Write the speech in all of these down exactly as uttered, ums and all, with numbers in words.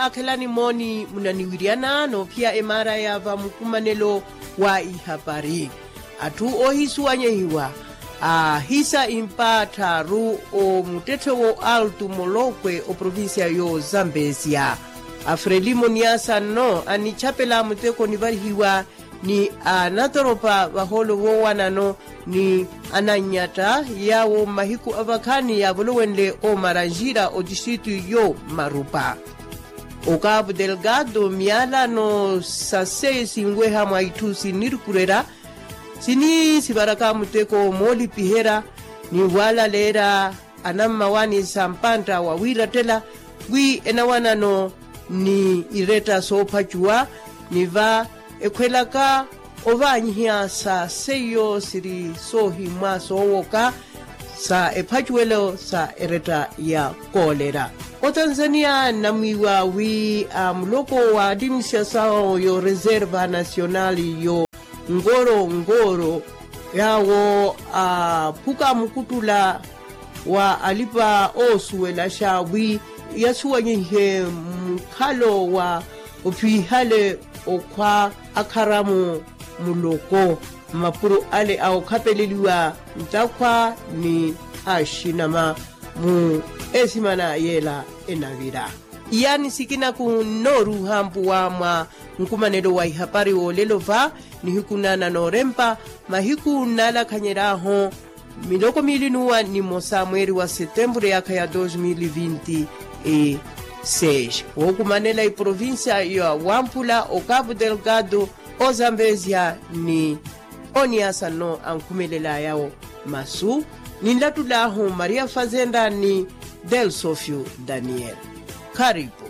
Akhelani mooni munaniwiryana noophiya emaara ya vamukumanelo wa ihapari. Atthu oohisuwanyehiwa aahisa impa tthaaru omuttetthe wo altu molokwe oprovincia yo zambezia. Afrelimo niasa nno anichapela muteko nivarihiwa ni anatoropa vahoolo voowanano ni anannyatta yaawo mmahiku avakhaani yaavolowenle omaranjira otistritu yo marupa. Okapu delgado miyalano sa seyo sinweha mwa itthu sinnirukurerya sini sivaraka muteko moolipiherya ni waalaleerya anammawaani sa mpantta wa wiirattela wi enawanano ni iretta soophacuwa ni va ekhwelaka ovaanyiha sa seiyo siri soohimwa soowoka sa ephacuwelo sa eretta ya koolera. Otanzania nnamwiiwa wi a muloko wa administrasawo yo reserva nasionali yo ngoro ngoro yaawo aphuka mukuttula wa alipa oosuwelaxa wi yasuwanyihe mukhalo wa opihale okhwa akharamu muloko mmapuro ale a okhapeleliwa ntakhwa ni axinama mu esimana yeela enavira. Iyaani sikinaku nnooruuha mpuwa mwa nkumanelo wa ihapari woolelo va nihiku nana noorempa mahiku nnaalakhanyeryahu miloko miili n'uwa nimosa mweeri wa setempuru eyaakha ya dos mil vinti e seis wookumanela iprovincia ya wampula okapu delgado ozambezia ni oniasa nno ankhumelelaya masu ninlattul'ahu maria fazenda ni delsofio daniel. Kharipu.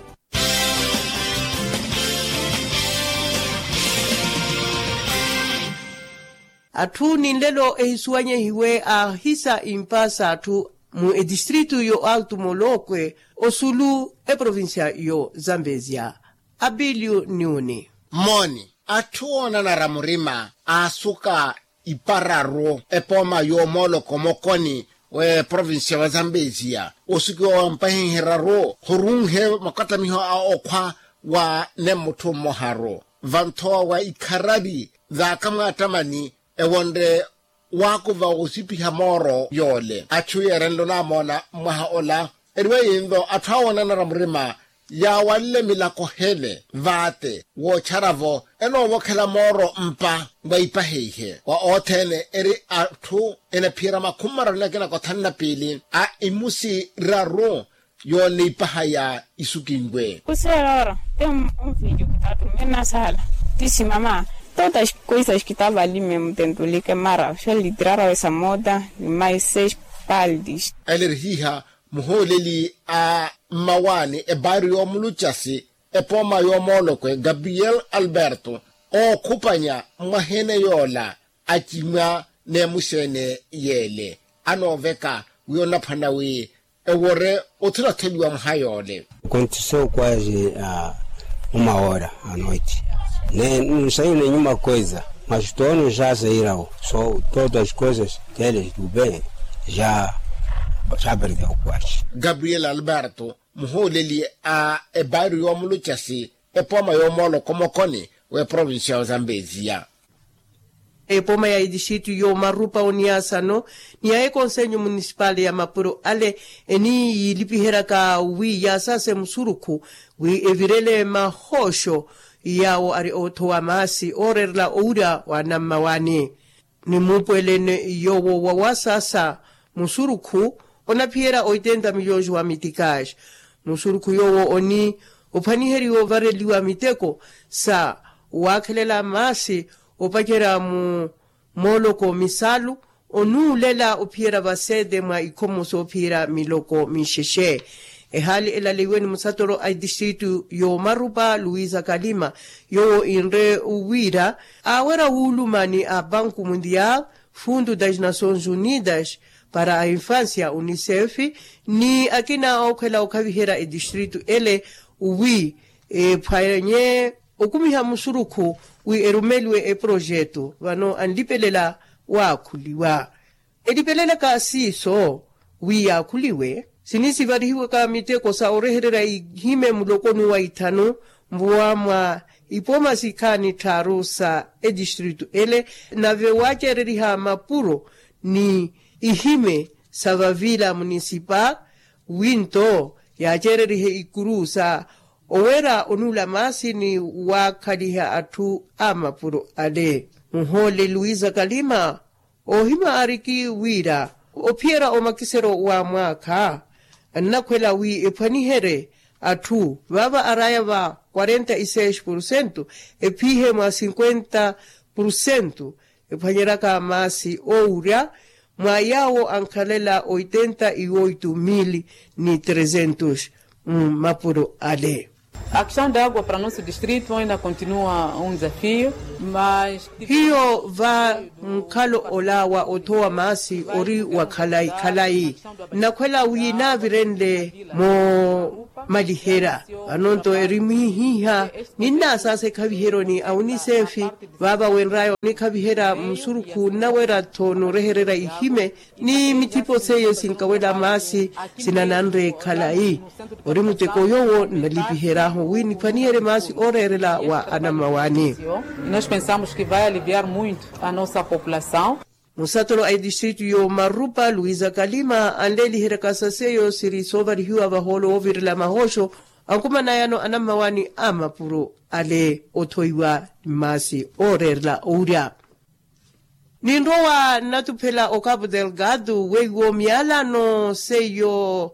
Atthu ninlelo ehisuwanyehiwe aahisa impa s'atthu mu etistritu yo altu molokwe osulu eprovincia yo zambezia. Abilio niuni. Mooni atthu oonanara murima aasuka ipararu epooma y'omooloko mokoni w'eprovincia wa zambezia osukiwa wa mpahihi eraru khurunhe makattamiho a okhwa wa nemmutthu mmoharu vanthowa wa ikharavi v'akamwaattamani ewonre waakuva woosipiha mooro yoole atthu yeerenle onaamoona mmwaha ola. Eriwa yinlo atthu awoonanara murima yaawanle milako hele vaate wootchara-vo enoovokhela mooro mpa wa ipaha ihe wa othene eri atthu enaphiyerya makhumi mararu ni akina kothanu na piili a imusi raru yooneipaha ya isukinwe. Kuseerora te unfilho kitatumena sala tisimama totas coisas kitava ali me mutentulike mara xolitirara wesa moda ni mais seis paldis. Elerihiha muhooleli a mmawaani ebaari y'omulucasi epooma y'omoolokwe gabriel alberto ookhupanya mwaheene yoola acimwa n'emuxeene yeele anooveka wi onaphwana wi ewore othulatheliwa mwaha yoole. Kontiseu kwazi a uma hora a noite ne nsayi nenyuma kweza mas tono ja sairau so todas coisas tele tuben ja ja perdeu kwazi. Gabriel alberto muhooleli a ebaari y'omulucasi epooma y'omooloko mokoni w'eprovincia ya ozambezia. Epooma ya etistritu y'omarupa oniasano ni ya ekonsenyo munisipali ya mapuro ale eni yiilipiheryaka wi yaasase musurukhu wi evirele mahooxo yaawo ari oothowa maasi ooreerela owira wa nammawaani ni muupwelene yoowo wa wasaasa musurukhu onaphiyerya oitenta milhões wa mitikaxi. Musurukhu yoowo oni ophwaniheriwa ovareliwa miteko sa waakhelela maasi opacerya mu mooloko misalu onuulela ophiyerya vasete mwa ikhomo soophiyerya miloko minxexe. Ehaali elaleiwe ni musatoro a etistritu y'omarupa luisa kalima yoowo inre wira aawerya wuuluma ni a banku mundial fundo das nações unidas para a infância unicef ni akina ookhwela okhaviherya etistritu ele wi ephwanye okumiha musurukhu wi erumeliwe eprojeto vano anlipelela waakhuliwa. Elipelelaka siiso wi yaakhuliwe Sini sivarihiwaka miteko sa orehererya ihime mulokoni wa ithanu mvuwa mwa ipoma sikhaani tthaaru sa etistritu ele. Nave waaceereriha mapuro ni ihime sa vavila munisipa winto yaaceererihe ikuru sa owera onuula maasi ni waakhaliha atthu a mapuro ale. Muhoole luisa kalima oohima aariki wira ophiyerya omakisero wa mwaakha annakhwela wi ephwaniherye atthu vaava araya va quarenta e seis porcento ephihe mwa cinquenta porcento ephwanyeryaka maasi oowurya mwa yaawo ankhalela oitenta e oito mil ni trezentos mmapuro ale. A questão da água para nosso distrito ainda continua um desafio mas hiyo va nkhalo ola wa othowa maasi ori wa khalayi khalayi. Nnakhwela wi naavirenle moomaliherya vano nto eri mwihiha ninnaasaasa ekhaviheryo ni a unisefi vaava wenraya onikhaviherya musurukhu nnawerya-tho noorehererya ihime ni mithipo seiyo sinkawela maasi sinananre khalayi. Ori muteko yoowo nnalipiheryahu wi niphwaniherye maasi ooreerela wa anammawaani. Nós pensamos que vai aliviar muito a nossa população. Musatolo a etistritu y'omarupa luisa kalima anleeliheryaka sa seiyo siri soovarihiwa vahoolo woovirela mahooxo ankumanayano anammawaani a mapuro ale othoiwa mmaasi ooreerela owurya. Ninrowa nnatuphela o cabo delgado weiwo miyalano seiyo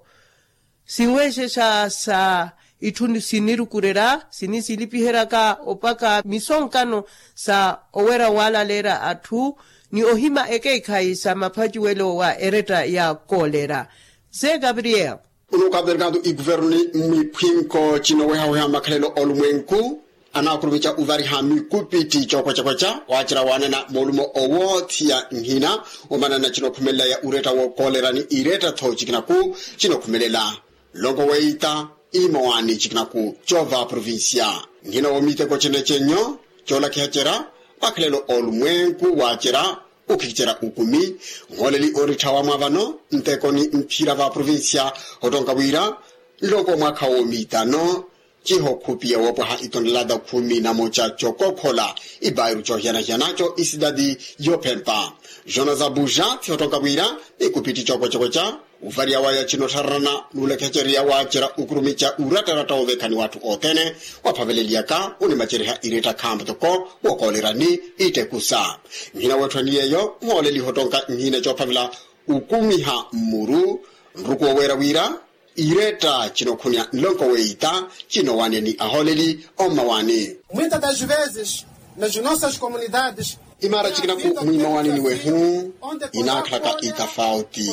sinweexexa sa itthu sinirukurerya sini silipiheryaka opaka misonkano sa owerya waalaleerya atthu ni ohima ekeekhayi sa maphaciwelo wa eretta ya kolera. Ze gabriel. Uno okaverkatu ikuvernu ni mwiphwinko cinowehaweha makhalelo olumwenku anaakurumica uvariha mikupitti cookwecakwetca waacerya waanena moolumo owoothiya nhina omanana cinokhumelela ya uretta wookolera ni iretta-tho cikinaku cinokhumelela nlongo weita imawaani cikinaku coova provincia. Nhina woomiteko cene cenyo coolakiha cerya makhalelo olumwenku waacerya ukhikicerya ukumi nhooleli ooritthawa mwa vano nteko ni mphira va provincia ottonka wira nloko mwaakha woomiitano cihokhupiya woopwaha itonelata khumi na moca cokokhola ibairu cohiyana-hiyana co isidadi yophempa. Jonas abuja thihottonka wira ni kupitti cokwecakwetca uvariya waya cinottharana nuulekhecerya waacerya ukurumica urattaratta woovekhani w'atthu othene waaphaveleliyaka unimaceriha iretta khampa toko wookolerani ittekusa. Nhina weetthwani yeeyo nhooleliha ottonka nhina coophavela ukumiha mmuru nruku wooweera wira iretta cinokhunya nlonko weita cinowaneya ni ahooleli ommawani. Muitas das vezes nas nossas comunidades imaara cikinaku mwimawanini wehu inaakhalaka itafauti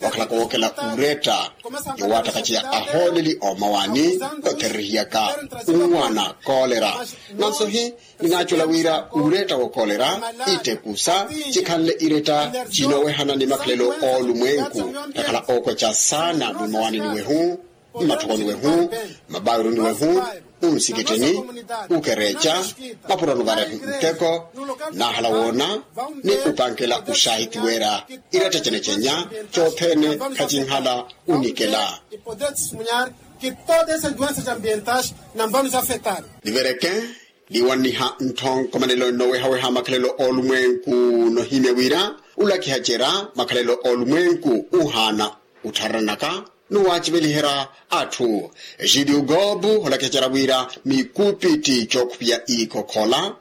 wakhalaka wookela uretta yowaattakaceya ahooleli oomawani yothererihiyaka unwana kolera. Nanso hi ninaacola wira uretta wookolera ittekusa cikhanle iretta cinowehana ni makhalelo oolumwenku takhala ookweca saana mwimawanini wehu mmatthokoni wehu mmabairuni wehu unsikittini ukereca mapuroni varehu nteko naahala woona ni upankela uxahiti weera iretta cene cenya cothene khacinhala unikela. Nivereke niwanniha ntthonko manelo nnowehaweha makhalelo oolumwenku nohimya wira ulakiha cera makhalelo oolumwenku uhaana uttharanaka nuwaaciveliherya atthu. Xidiu gobu holakiha cera wira mikupitti cookhupiya iikokhola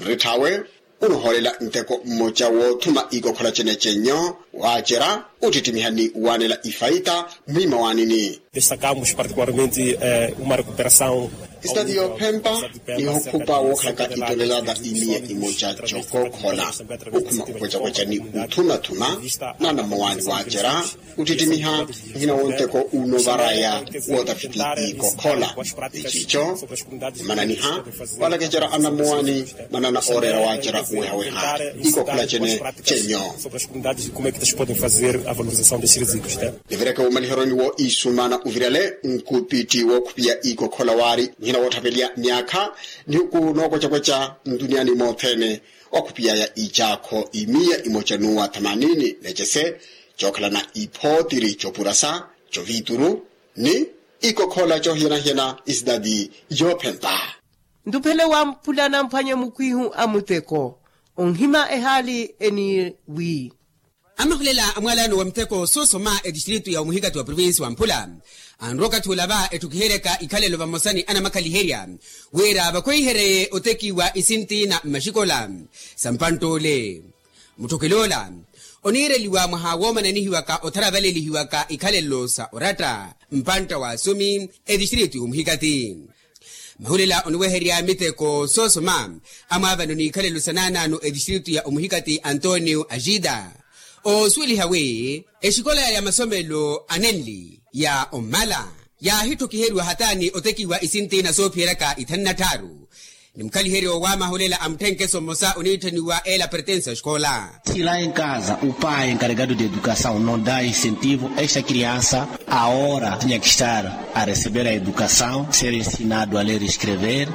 nritthawe unuhoolela nteko mmoca woothuma iikokhola cene cenyo waacerya uttittimiha ni waanela ifaita mwimawaanini. Destacamos particularmente uma recuperação. Isitati yoophempa nihokhupa wookhalaka itonelata imiya imoca cokookhola ukhuma okwecakweca ni uthumathuma n'anamuwaani waacerya uttittimiha nhina wonteko unovaraya wootafiti iikokhola. Eciico omananiha waalakecera anamuwaani manana ooreera waacerya uwehaweha iikokhola cene cenyo. Nivireke womaliheroni wo iisumana uvirale nkupitti wookhupiya iikokhola waari nhina woottapeliya myaakha nihuku nookwecakwetca ntuniyaani moothene wakhupiyaya icaakho imiya imoca nuwa thamanini necese cookhalana iphootiri copurasa Covituru ni ikokhola cohiyana-hiyana isitati yoophempa. Ntuphele wamphulana mphwanye mukwihu a muteko onhima ehaali eni wi. Amahulela a mwalano wa muteko soosoma etistritu ya omuhikati wa provinsi wamphula anrowa okathi olava etthukiheryaka ikhalelo vamosa ni anamakhaliherya wira vakhweihereye otekiwa isinti na mmaxikola sa mpantt'ole. Mutthokelo ola oniireliwa mwaha woomananihiwaka otharavalelihiwaka ikhalelo sa oratta mpantta wa asumi etistritu ya omuhikati. Mahulela oniweherya miteko soosoma amwaavano n'ikhalelo sa naanaano etistritu ya omuhikati antonio axida oosuweliha wi exikola ya masomelo anenli ya ommala yaahitthokiheriwa hataani otekiwa isinti na soophiyeryaka ithanu na tthaaru. Ni mukhaliheryo wa mahulela a mutthenkeso mmosa oniitthaniwa ela pertense a xikola. Si la en kaza o pai enkaregado de edukasaw no da insentivo esta kriansa a ora tinya kistar a resebera edukasaw ser ensinado a ler escrever.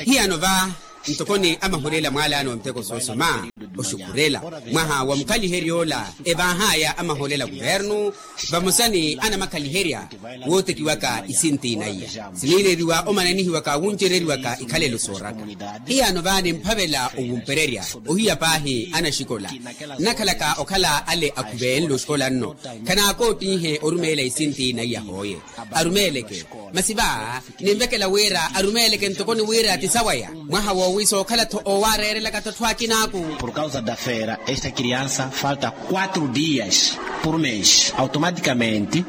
Hiyano va ntokoni amahulela mwalano wa miteko soosoma oxukhurela mwaha wa mukhaliheryo ola evaahaya amahulela kuvernu vamosa ni anamakhaliherya wootekiwaka isinti naiya siniileriwa omananihiwaka wuncereriwaka ikhalelo sooraka. Hiyano vaani mphavela owumpererya ohiya paahi anaxikola nnakhalaka okhala ale akhuvenle oxikola nno khanaakootiihe orumeela isinti naiya hooye arumeeleke masi va ninvekela wira arumeeleke ntokoni wira ti sawaya mwaha woowi sookhala-tho oowareerelaka-tho atthu akinaaku. Por kausa da fera esta kriansa falta quatro dias por mes automatikamente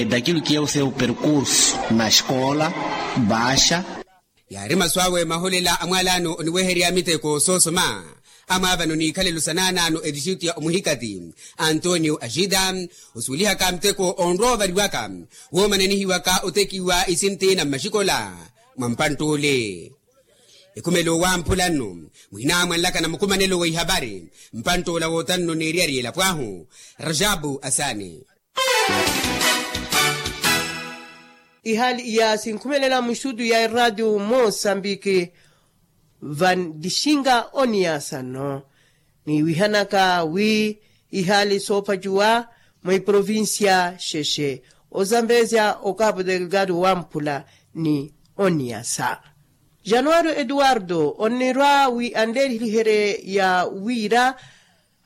dakilu ki eu seu perkursu na xikola baxa. Yaari masu awe mahulela a mwalano oniweherya miteko soosoma amwaavano n'ikhalelo sa naanaano etixitu ya omuhikati antonio axida osuwelihaka miteko onrowa ovariwaka woomananihiwaka otekiwa isinti na mmaxikola mwa mpantt'ule. Ekhumelo wamphula nno muhinaamwanlaka na mukhumanelo wa ihavari mpantt'ula wootanno n'eriyari elapo ahu rajabu asaani. Ihaali iya sinkhumelela muxutu ya eraatiyo mosambiki vantixinga oniyasa nno niwihanaka wi ihaali soopacuwa mwa iprovincia xexe ozambezya okapu delgado wamphula ni oniyasa. Januwari eduwardo onnirwa wi anleeriheriherye ya wira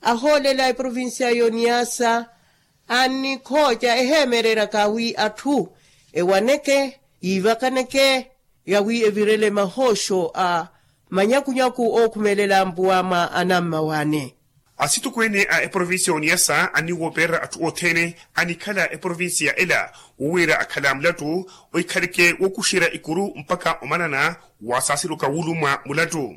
ahoolela eprovincia y'oniyasa annikhooca eheemereryaka wi atthu ewaneke yiivakaneke yawi evirele mahooxo a manyakunyaku ookhumelela mpuwa mwa anammawaani. Asitokweene a eprovincia y'oniyasa anniwoopererya atthu othene anikhala eprovincia ela wowiira akhala mulattu ohikhaleke wookuxerya ikuru mpakha omanana wasaasiruka wuulumwa mulattu.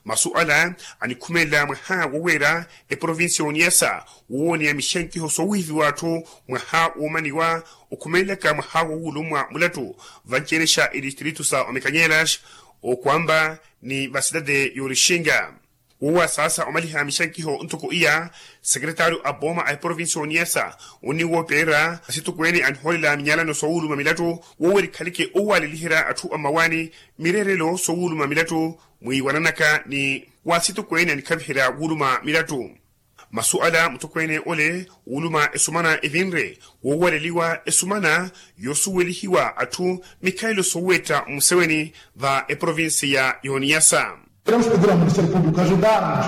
Masu ala anikhumelela mwaha woweera eprovincia y'oniyasa woowoneya mixankiho soowihiviwa atthu mwaha woomaniwa okhumelelaka mwaha wowulumwa mulattu vanci-ene xa etistritu sa omekanyelas okwamba ni vasitade y'orixinga. Wowasaasa omaliha mixankiho ntoko iya sekretario a booma a eprovincia y'oniyasa onniwoopererya asitokweene anihoolela minyalano soowuluma milattu woweera ekhaleke owaleliherya atthu a mmawaani mireerelo soowuluma milattu mwiiwananaka ni waasitokweene anikhaviherya wuuluma milattu. Masu ala mutokweene ole wuuluma esumana evinre woowaleliwa esumana yoosuwelihiwa atthu mikhalelo soowetta mmuseweni va eprovincia y'oniyasa. Queremos pedir ao ministério público ajudar-nos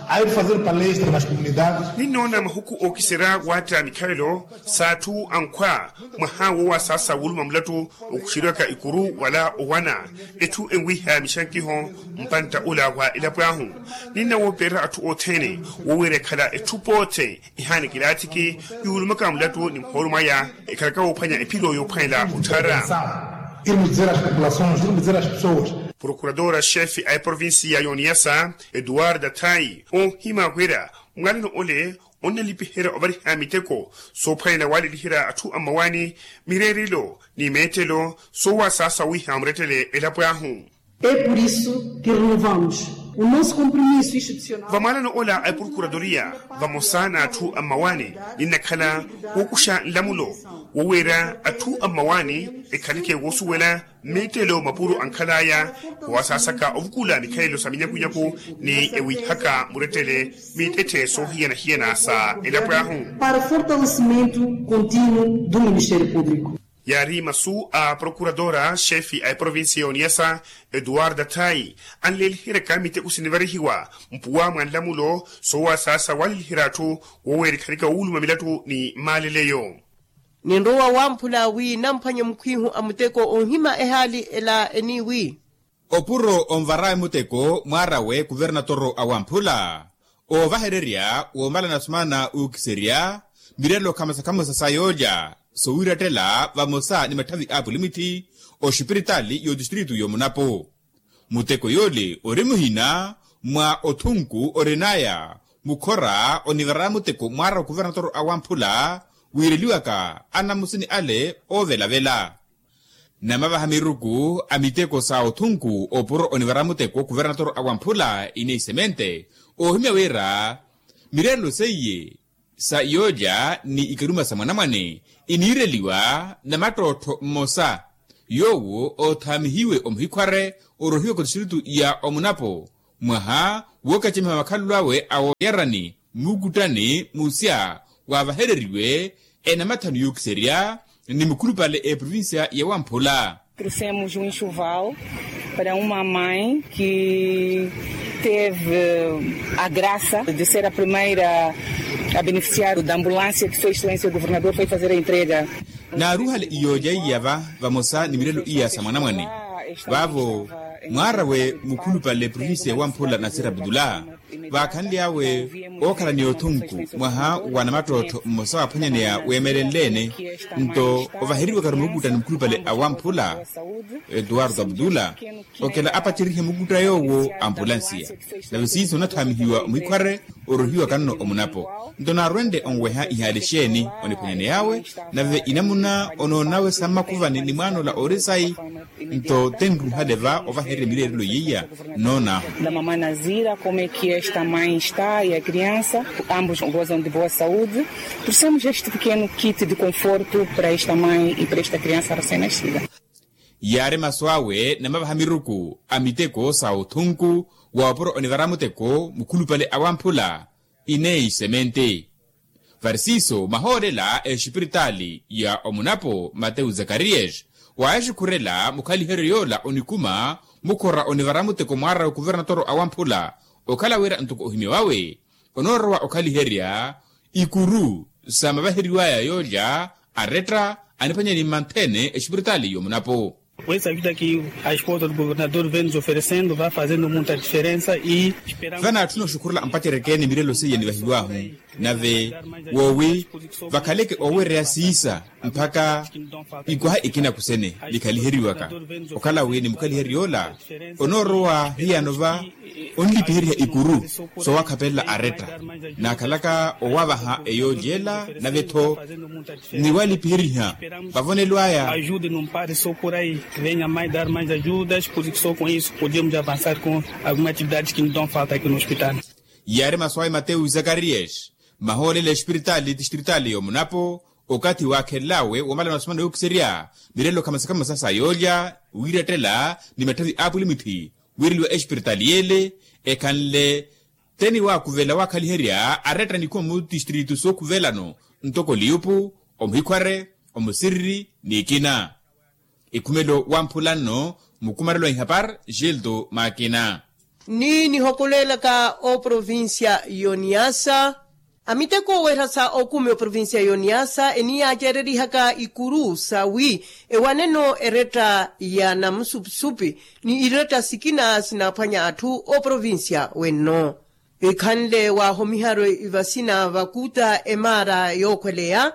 a ir fazer palestra nas comunidades. Ninnoona mahuku ookiserya waatta mikhalelo s'atthu ankhwa mwaha woowasaasa wuluma mulattu okuxeriwaka ikuru wala owana etthu enwiha mixankiho mpantta ula wa elapo ahu. Ninnawoopererya atthu othene wowiira ekhala etthu poote ehaani kilaathiki yuulumaka mulattu ni muhoolo mwaya ekhalaka woophwanya ephiro yoophwanela otthara. Irmos dizer às populações, irmos dizer às pessoas. Prokuradora xefe a eprovincia y'oniyasa eduarda thai oohima wira mwalano ole onnalipiherya ovariha miteko soophwanela waleliherya atthu a mmawaani mireerelo ni meettelo soowasaasa wiiha murettele elapo ahu. É por isso que renovamos O nosso compromisso institucional. Vamwaalano ola a eprokuratoriya vamosa n'atthu a mmawaani, ninnakhala wookuxa nlamulo woweera atthu a mmawaani ekhaleke woosuwela mmittelo mapuro ankhalaya, wasaasaka ovukula mikhalelo sa minyakunyaku ni ewihaka murettele mittetthe soohiyana-hiyana sa elapo ahu. Para fortalecimento contínuo do ministério público. Yaari masu a prokuratora xefe a eprovincia y'oniyasa, eduarda thayi, anleeliheryaka miteko sinivarihiwa mpuwa mwa nlamulo soowasaasa waliliherya atthu woweerikhanika wuuluma milattu ni maaleleyo. Ninrowa wamphula wi namphwanye mukhwihu a muteko onhima ehaali ela eniiwi. Opuro onvarawe muteko mwaarawe kuvernatoro a wamphula, oovahererya woomalana sumana ookiserya mirelo khamosa-khamosa sa yoolya sowiirattela vamosa ni matthavi a apulimitthi oxipiritaali y'otistritu y'omunapo. Muteko yoole ori muhina mwa othunku orinaya mukhora onivara muteko mwaara okuvernatoro a wamphula, wiireliwaka anamusini ale oovelavela. Namavaha miruku a miteko sa othunku opuro onivara muteko kuvernatoro a wamphula ine isemente, oohimya wira mirelo seiye sa yoolya ni ikaruma sa mwanamwane iniireliwa na mattottho mmosa yoowo oothaamihiwe omuhikhware orohiwaka otistritu ya omunapo mwaha wookacemiha makhalelo awe a wooyarani mmukuttani musya waavahereriwe enamathanu yookiserya ni mukhulupale eprovincia ya wamphula. Trouxemos um enxoval para uma mãe que teve a graça de ser a primeira a beneficiar da ambulância que Sua Excelência o Governador foi fazer a entrega. Naaruhale iyoolya iya va vamosa ni mirelo iya sa mwanamwane vaavo mwaarawe mukhulupale provincia ya wamphula nasira abdullah. Vaakhanly'awe ookhala ni othunku mwaha wa namattottho mmosa waaphwanyaneya weemelenle-ene nto ovaheriwaka mukuttani mukhulupale a wamphula, eduardo abdullah, okela apaceryihe mukutta yoowo ampulansiya. Nave siiso onathaamihiwa omuhikhware orohiwaka nno omunapo nto naarwenle onweha ihaali exeeni oniphwanyaney'awe. Nave inamuna onoonawe sa mmakuvani ni mwaana ola ori sayi nto tenruhale va ovahererya mireerelo yeiya noon'ahu. Da mamã Nazira, como é que esta mãe está e a criança, ambos gozam de boa saúde. Trouxemos este pequeno kit de conforto para esta mãe e para esta criança recém-nascida. Yaari masu awe namavaha miruku a miteko sa othunku wa opuro onivara muteko mukhulupale a wamphula ine isemente. Varisiiso mahoolela exipiritaali ya omunapo mateu zakarias waaxikhurela mukhaliheryo yoola onikuma mukhora onivara muteko mwaara okuvernatoro a wamphula okhala wira ntoko ohimya wawe onoorowa okhaliherya ikuru sa mavaheriwaya yoolya aretta aniphwanya ni mmanthene exipiritaali y'omunapo. Essa ajuda que a esposa do governador vem nos oferecendo vai fazendo muita diferença e esperamos. Vanaatthuna oxukhurela ampacereke ni mirelo seiya nivahiw'ahu nave woowi vakhaleke oowereya siisa mpakha ikwaha ikina kusene nikhaliheriwaka okhala wi ni mukhaliheryo yoola onoorowa hiyano va onlipiheriha ikuru soowakhapelela aretta naakhalaka owavaha eyoolya ela nave-tho ni walipiheriha vavonelo aya. Ajude num pare só por aí, venha mais dar mais ajudas, porque só com isso podemos avançar com algumas atividades que nos dão falta aqui no hospital. Yaari masu awe mateu zakarias mahoolela exipiritaali tistritali y'omunapo okathi waakhelelawe womala masumana yookiserya mirelo khamasakhamasa sa yoolya wiirettela ni matthavi a apulimitthi wiireliwa exipiritaali yeele ekhanle teni waakuvela waakhaliherya aretta nikhuwa mu tistritu sookhuvelano ntoko liyupu omuhikhware omusiriri n'ikina. Ikhumelo wamphula nno mukumarelo a ihapar gildo makina. Ni nihokolelaka oprovincia y'oniasa amiteko owerasa okumi oprovincia y'oniasa eniyaacererihaka ikuru sawi ewaneno eretta ya namusupi-supi ni iretta sikina sinaaphwanya atthu oprovincia wenno. Ikhanle waahomiharwe ivasina vakuta emaara yookhweleya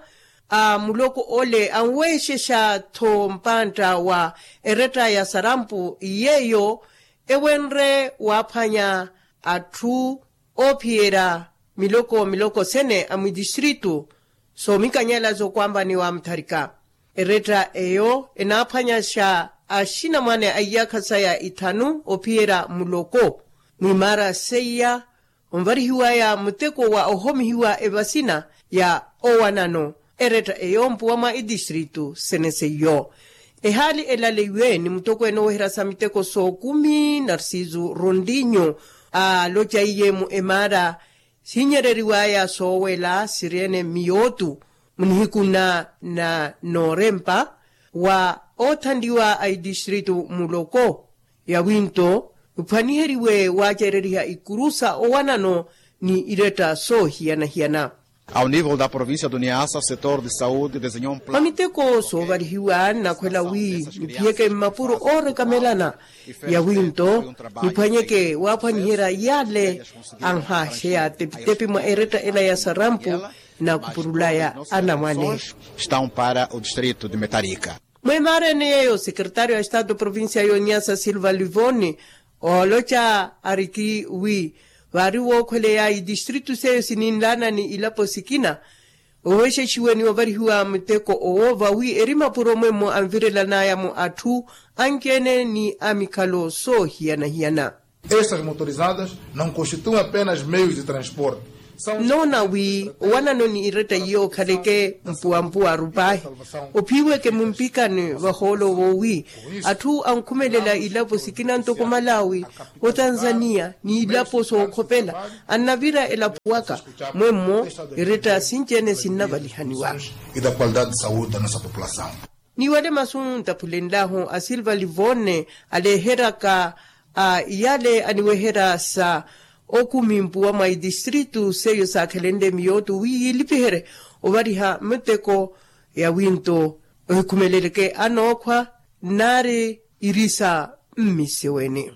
a muloko ole anweexexa-tho mpantta wa eretta ya sarampu yeeyo ewenre waaphwanya atthu oophiyerya miloko miloko sene a mwidistritu soomikanyela zookwambaniwa mutharika. Eretta eyo enaaphwanyaxa axinamwane a iyaakha saya ithanu ophiyerya muloko Mwimaara seiya onvarihiwaya muteko wa ohomihiwa evasina ya owanano eretta eyo mpuwa mwa etistritu sene seiyo. Ehaali elaleiwe ni mutokweene oweherya sa miteko sookumi narsisu rondinyo aaloca iye mu emaara siinyereriwaya soowela sirene miyootu munihiku na na noorempa wa oothanliwa a itistritu muloko yawinto niphwaniheriwe waacereriha ikuru sa owanano ni iretta soohiyana-hiyana. Ao nivel da provincia do niasa setor de saude desenhou mwa miteko soovalihiwa nnakhwela wi niphiyeke mmapuro oorekamelana yawinto niphwanyeke waaphwaniherya yale anhaxeya tepitepi mwa eretta ela ya sarampu na khupurulaya anamwane. Estão para o distrito de metarika. Mwemarene yeyo sekretario a estado provincia yonyasa silva livoni ooloca ariki wi vaari wookhweleya itistritu seyo sininlaana ni ilapo sikina oweexexiwe ni ovarihiwa muteko owo vawi eri mapuro mwemmo anvirelanaya mu atthu anci-ene ni amikhalo soohiyana-hiyana. Estas motorizadas não constituem apenas meios de transporte. Nnoona wi owanano ni iretta iyo okhaleke mpuwampuwa arupahi ophiweke mumpikani vahoolo woowi atthu ankhumelela ilapo sikina ntoko malawi otanzania ni ilapo sookhopela annavira elapo waka mwemmo iretta sinci-ene sinnavalihaniwa. Niwale masu ntaphulenlahu a silva livone aleeheryaka a iyale aniweherya sa okumi mpuwa mwa itistritu seiyo saakhelenle miyootu wi yiilipiherye ovariha miteko yawinto ohikhumeleleke anookhwa nnaari irisa mmisiweni.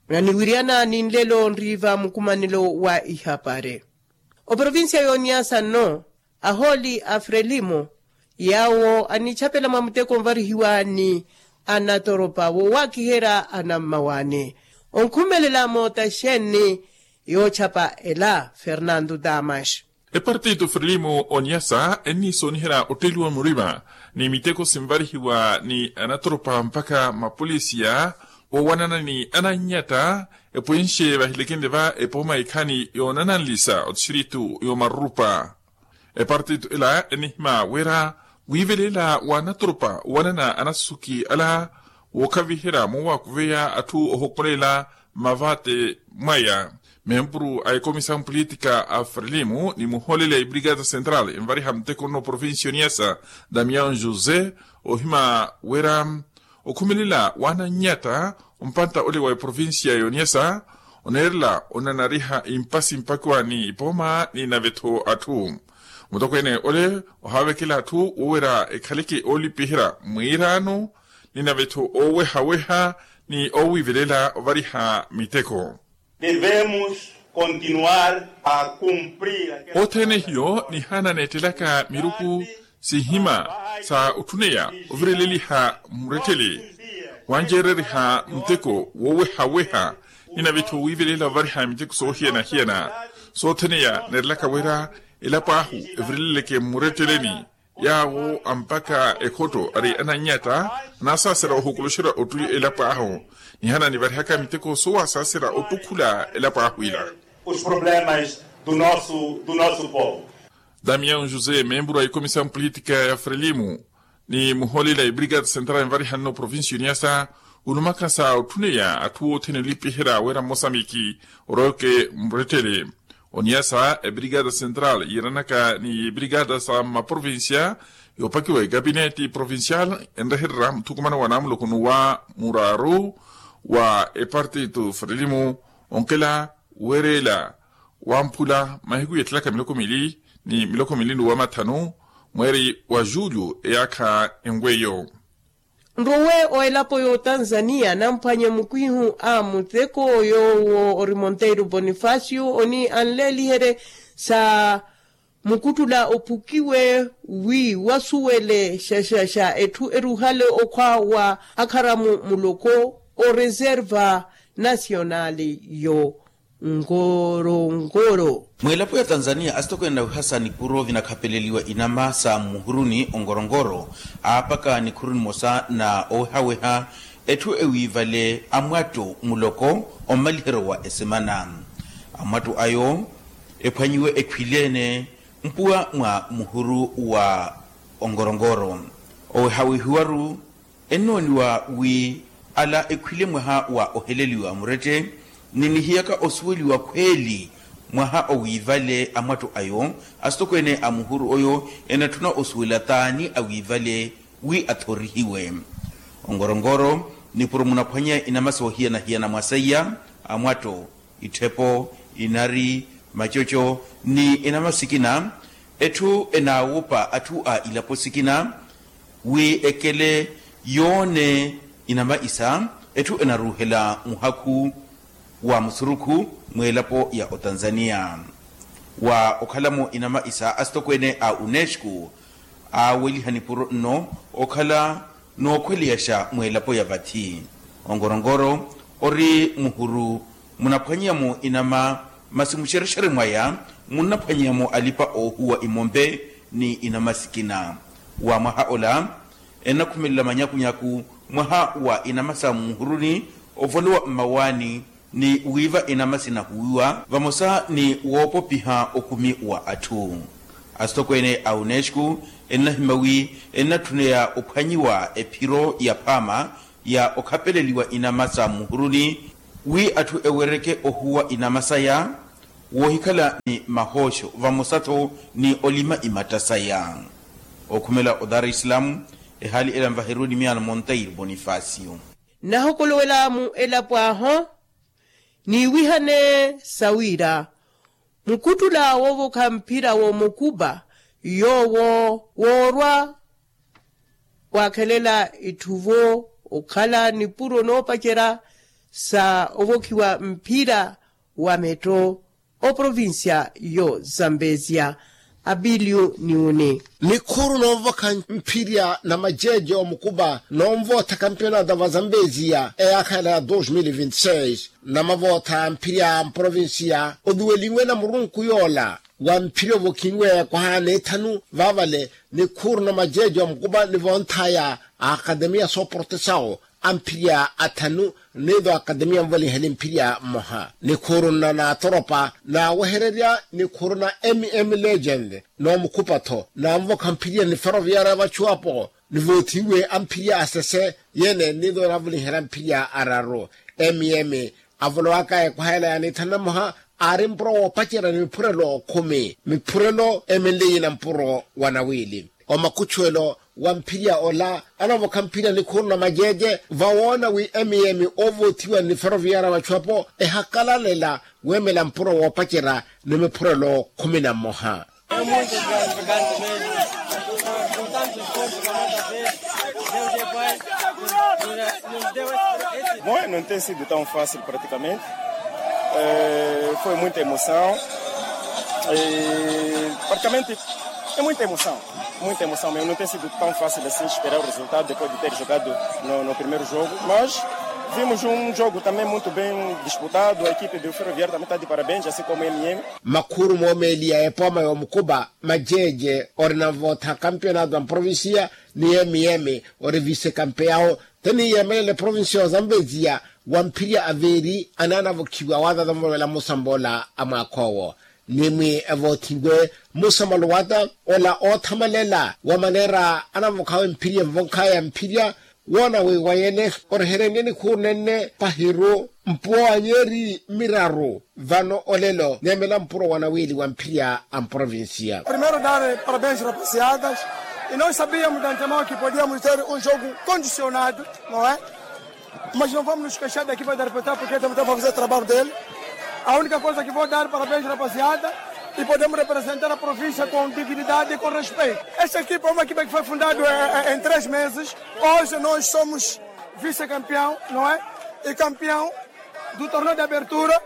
Naniwiryana ni nlelo nriiva mukumanelo wa ihapari. Oprovincia yoniyasa nno ahooli a frelimo yaawo anichapela mwa muteko onvarihiwa ni anatoropa woowakiherya anammawaani onkhumelela moota xeeni yoochapa ela fernando damas. Epartito frelimo oniyasa enniisooniherya otteliwa murima ni miteko sinvarihiwa ni anatoropa mpakha mapolisiya woowanana ni anannyata epwenxe vahilekenle va epooma ikhaani yoonananlisa otistritu yomarurupa. Epartito ela enihima wira wiivelela wa anatoropa owanana anasuki ala wookhaviherya moowakuveya atthu ohokolela mmavate mwaya. Mempuru a ekomisa mpulitika a frelimo ni muhooleli a ibrigada central envariha muteko nno provincia yoniyasa damian josé ohima wira okhumelela wa anannyata ompanta ole wa eprovincia yoniyasa oneerela onanariha impasi mpakiwa ni ipooma ni nave-tho atthu. Mutokweene ole ohaavekela atthu woowera ekhaleke oolipiherya mwiiraano ni nave-tho oowehaweha ni oowiivelela ovariha miteko. Devemos continuar a cumprir. Othene hiyo nihaana neettelaka miruku sihima sa otthuneya ovireleliha mmurettele wanceereriha muteko woowehaweha ni nave-tho wiivelela ovariha miteko soohiyana-hiyana. Soothene ya neerelaka wira elapo ahu evireleleke mmuretteleni yaawo ampakha ekhotto ari anannyata anaasaasera ohukuluxerya ottuli elapo ahu nihaana nivarihaka miteko soowaasaasera ottukhula elapo ahu ila. Os problemas do nosso do nosso povo. Damian josé memburu a ikomisa mpulitika ya frelimo ni muhooleli a ibrigada central envarihanno provincia yoniyasa ulumakha sa otthuneya atthu othene olipiherya wira mmosamiki oroweke mmurettele. Oniyasa ebrigada central yiiranaka ni ibrigada sa mmaprovincia yoopakiwa ekapineti provincial enrehererya muthukumano wa naamuloko n'uwa muraaru wa epartito frelimo onkela weerela wamphula mahiku yeettelaka miloko mili ni miloko mili n'uwa mathanu mweeri wa julho eyaakha enweyo. Nrowe o elapo y'otanzania namphwanye mukwihu a muteko yoowo ori monteiro bonifacio oni anleeliherye sa mukuttula ophukiwe wi wasuwele xaxaxa etthu eruhale okhwa wa akharamu muloko o reserva nacional yo nkorongoro. Mwilapo ya tanzania asitokweene nawihasa nikuro vinakhapeleliwa inama sa muhuruni onkorongoro aapaka nikhuru nimosa na owehaweha Etthu ewiivale amwatto muloko ommaliheryo wa esemana. Amwatto ayo ephwanyiwe etthu ile-ene mpuwa mwa muhuru wa onkorongoro. Owehawehiwaru ennooniwa wi ala ekhwile mwaha wa oheleliwa murette ni nihiyaka osuweliwa khweeli mwaha owiivale amwatto ayo. Asitokweene a muhuru oyo enatthuna osuwela taani awiivale wi athorihiwe. Onkorongoro nipuro munaphwanya inama soohiyana-hiyana mwa seiya, amwatto, itthepo, inari, macoco ni inama sikina. Etthu enaawopa atthu a ilapo sikina wi ekele yoone inama isa. Etthu enaruuhela muhakhu wa musurukhu mweelapo ya otanzania. Wa okhalamo inama isa asitokweene a unesco aaweliha nipuro nno okhala nookhweleyaxa mweelapo ya vathi. Onkorongoro ori muhuru munaphwanyeyamo inama masi muxerexere mwaya munnaphwanyeyamo alipa oohuwa imompe ni inama sikina. Wa mwaha ola ennakhumelela manyakunyaku mwaha wa inama sa muhuruni ovolowa mmawaani ni wiiva inama sinahuwiwa vamosa ni woopopiha okhumi wa atthu. Asitokweene a unesco ennahimya wi ennatthuneya ophwanyiwa ephiro ya phaama ya okhapeleliwa inama sa muhuruni wi atthu ewereke ohuwa inama saya woohikhala ni mahooxo vamosa-tho ni olima imatta saya. Okhumela o dar es salaam ehaali ela nvahereruni miyaano monteiro bonifacio. Nahokolowelela mu elapo ahu niiwihane sawiira mukhuttula woovokha mphira woomukupa yoowo woorwa waakhelela itthuvo okhala nipuro noopacerya sa ovokhiwa mphira wa metto oprovincia yo zambezia. Abilio niwuni. Nikhuuru noovokha mphirya na majeje omukupa noonvootha kampionato va zambezia eyaakha ela ya dos mil vinti seis namavootha mphirya a mprovincia oduwelinwe na murunku yoola wa mphirya ovokhinwe kwaha n'ethanu vaavale nikhuuru na majeje omukupa nivoonthaya a akademia sooportesawo a mphirya athanu niido akademia nvolinheli mphirya mmoha nikhuuru nna naatoropa naawehererya nikhuuru na mm legend noomukhupa-tho naanvokha mphirya ni ferroviaria vachuwapo nivoothiwe amphirya asese yeene niido naavolinhela mphirya araru mm avolowaka ekwaha ela ya nithanu na mmoha aari mpuro woopacerya ni miphurelo khumi miphurelo emenleyi na mpuro wa nawiili omakuchuwelo wa mphirya ola anavokha mphirya nikhuuru na majeje vawoona wi mm oovoothiwa ni ferroviaria vachuwapo ehakalalela weemela mpuro woopacerya ni miphurelo khumi na mmoha. Bom, não tem sido tão fácil praticamente. Eh, foi muita emoção. Eh, praticamente é muita emoção. Muita emoção mesmo. Não tem sido tão fácil assim esperar o resultado depois de ter jogado no, no primeiro jogo. Mas vimos um jogo também muito bem disputado. A equipe do Ferroviário também está de parabéns, assim como o M M. Makhuuru moomeeliya epooma yoomukupa majeje ori navootha kampionato a mprovincia ni mm ori vise kampeyawo teniyeemelela eprovincia ozambeziya wa mphirya aveeri anaanavokhiwa waatatamuvela musambola a mwaakha owo ni mwi evoothiwe musambola wata ola oothamalela wa maneera anavokhawe mphirya envonkhaya mphirya woona wi wayene orehereniye nikhuuru nenne pahiru mpuwa wa nyeeri miraru vano olelo neemela mpuro wa nawiili wa mphirya a mprovincia. Primeiro dar parabéns rapaziadas e nós sabíamos de antemão que podíamos ter um jogo condicionado, não é? Mas não vamos nos queixar da equipa de arbitragem porque também está a fazer o trabalho dele. A única coisa que vou dar parabéns rapaziada e podemos representar a província com dignidade e com respeito. Esta equipa é uma equipa que foi fundada em três meses. Hoje nós somos vice-campeão, não é? E campeão do torneio de abertura,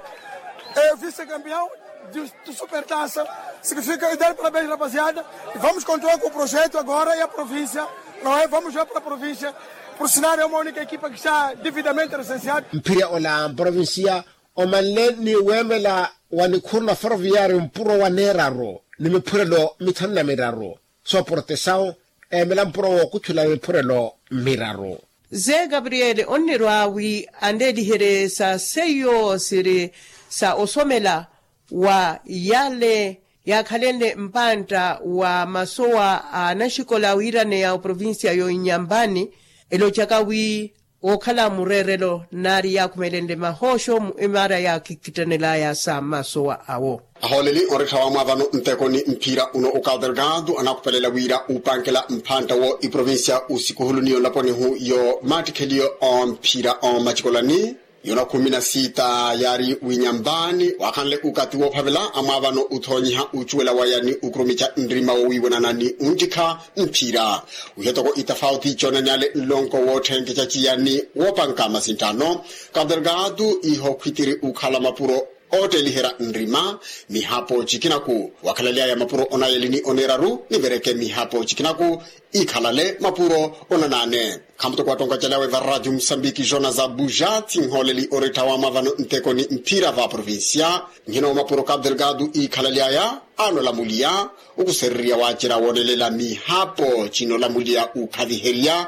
é vice-campeão de, de Supertaça. Significa e dar parabéns rapaziada e vamos continuar com o projeto agora e a província, não é? Vamos jogar para a província. Por sinal é uma única equipa que está devidamente recenseada. Mphirya ola mprovincia omanle ni weemela wa nikhuuru na ferroviario mpuro wa neeraru ni miphurelo mithanu na miraru. Sooportesawo eemela mpuro wookuthula miphurelo miraru. Ze gabriele onnirwa wi anleeliherye sa seiyo siri sa osomela wa yale yaakhalenle mpantta wa masowa a anaxikola wiiraneya oprovincia yo inyampani, elocaka wi wookhala mureerelo naari yaakhumelenle mahooxo mu emaara yaakittannelaya sa masowa awo. Ahooleli onrettha wamwaavano nteko ni mphira uno okaterkatu anakhupelela wira upankela mphantta wo iprovincia usikuhuluni yonlaponihu yo mattikheliyo omphira omacikolani yona khumi na sita yaari winyambaani waakhanle ukati woophavela amwaavano uthoonyiha ucuwela waya ni ukurumica nrima wowiiwanana ni unttikha mphira. Wihe toko itafauti coonaneyale nlonko wootthenketya ciyani woopanka masintthano kapu delgado iho khwitiri ukhala mapuro ootteeliherya nrima mihapo cikinaku wakhalaleya mapuro onayeli ni oneeraru nivereke mihapo cikinaku ikhalale mapuro onanaane. Khamuttoko wattonkacelyawe va radio musambiki jonas abuja thinhooleli orettha wamwaavano nteko ni mphira va provincia nhina wa mapuro kapu delgado ikhalaleya anolamuliya okusererya waacerya woonelela mihapo cinolamuliya ukhaviherya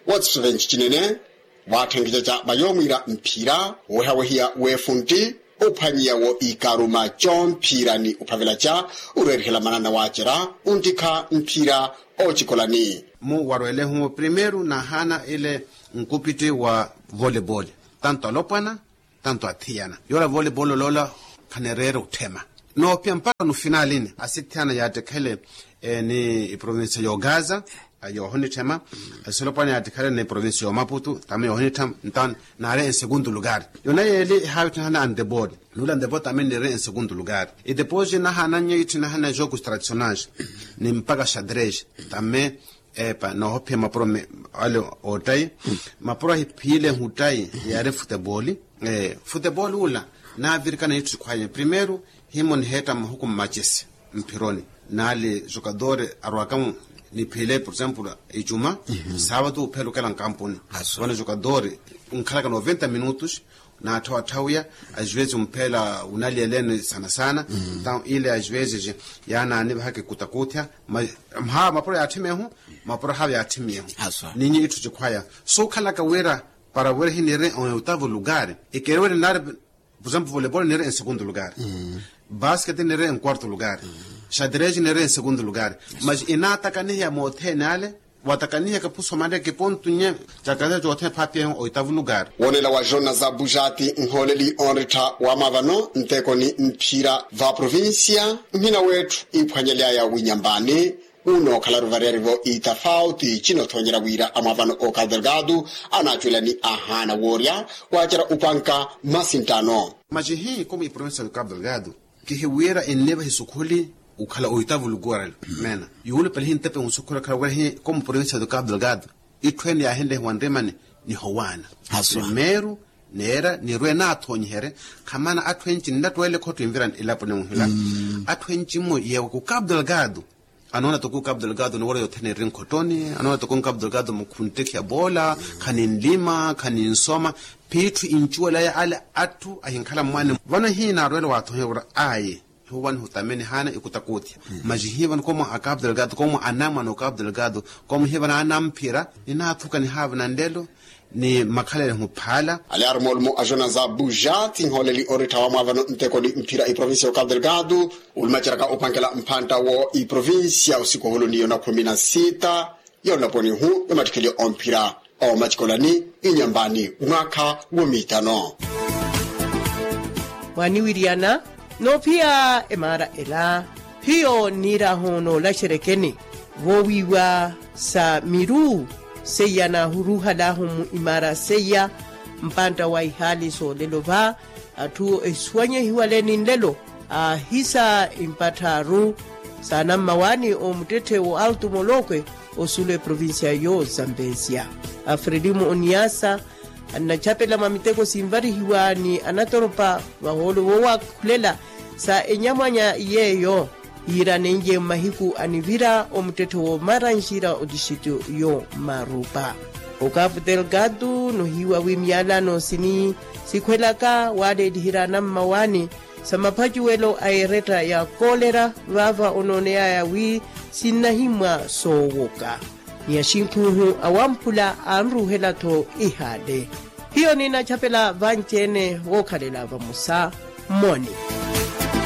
wa cisovenci cinene. Waatthenkecaca va yoomwiira mphira woowehawehiya weefuntti ophwanyiya wo ikaruma comphira ni ophavelaca oreerihela manana waacerya ontikha mphira oocikolani. Mu warwelehu primeiro nahaana ile nkupitti wa volebol tanto alopwana tanto athiyana yoola volebol oloola khanereere otthema noophiya mpakha no finalini asithiyana yaattikhele ni iprovincia yoogaza yoohonitthema. Asolopwana yaattikhale ni provincia yoomaputu tame yoohonitthema ntaani naari ensegundu lugar yona yeeli ehaavitthana andebol nuula andebol tame niiri ensegundu lugar. Idepos nahaananye itthinahana jokus tradicionais ni mpaka xadres tame epa noohophiya mapuro ale oottayi mapuro ahiphiilehu ottayi yaari futebol. Futebol ula naavirikana itthu sikhwaya primeiro himo niheetta mahuku mmacesi mphironi naali jokadori arwaka niphiile por exemplo icuma saavatu uphelukela nkampuni vano jokadori nkhalaka noventa minutos naatthawatthawiya ajwezi umphela unaliyeleni sana sana. Ntawu ile ajwezi yaanaanivahaka ikutakuthya mapuro yaatthimiyehu mapuro haava yaatthimiyehu ninyi itthu cikhwaya suukhalaka wira para wira hiniiri en oitavu lugar ikeriweri naari por exemplo volebol niiri en segundu lugar basket niiri en quarto lugar xadres niiri en segundu lugar mas inaatakaniheya moothene ale waatakaniheka phusomanreke pontu nye cakatha coothene phaapiyehu oitavu lugar. Woonela wa jonas abujati nhooleli onrittha wamwaavano nteko ni mphira va provincia nhina weetthu iphwanyelyaya winyambaani unookhala ruvariyari-vo itafauti cinothoonyerya wira amwaavano okapu delgado anaacuwela ni ahaana woorya waacerya upanka masinttano. Macihi komu iprovincia okapu delgado kihiwira ennivahi sukhuli ukhala oitavu lukuwarelo meena yuulupelihi ntepe nsukhuli okhala wira hi komu provincia okapu delgado itthu ene yaahinlehiwa nrimani nihowaana primeiro neera nirwe naathoonyiherye khamana atthu enci nnattwele khotto envira elapo nimuhila atthu enci mmo yeewa ku kapu delgado anoona toko kapu delgado niwora yothene eri nkhottoni anoona toko kapu delgado mukhuntekhiya boola khani nlima khani nsoma phiitthu incuwelaya ale atthu ahinkhala mmwaani vano hinaarwela waathoonyiherya wira ayi hiwanihutameni haana ikutakuthya macihi vano komo a kapu delgado komo anamwana o kapu delgado komo hivana anamphira ninaathuka nihaavana nlelo ni makhalelehu phaala. Ale arumoolumo a jonas abuja thinhooleli orittha wamwaavano nteko ni mphira iprovincia okapu delgado ulumaceraka upankela mphantta wo iprovincia osikoholo ni yona khumi na sita yonlaponihu yomattikheliyo omphira omacikolani inyambaani mwaakha womiitano. Mwaaniwiriyana noophiya emaara ela hiyo nniirahu noolaxerekeni voowiiwa sa miru seiya naahuruhalahu mu imaara seiya mpantta wa ihaali soolelo va atthu ehisuwanyehiwale ni nlelo aahisa impattha aru saanammawaani omuttetthe wo altu molokwe osuula eprovincia yo zambesia afredimu oniasa annachapela mwa miteko sinvarihiwa ni anatoropa vahoolo voowakhulela sa enyamwanya yeeyo yiiranenlye mmahiku anivira omuttetthe woomaranxira otixityo yo marupa okapu delgado nohiiwa wi miyalano sini sikhwelaka waaleeliherya anammawaani sa maphacuwelo a eretta ya kolera vaava onooneyaya wi sinnahimmwa soowoka ni axinkhuhu awamphula anruhela-tho ihaale. Hiyo ninachapela vanci-ene wookhalela vamosa. Moni.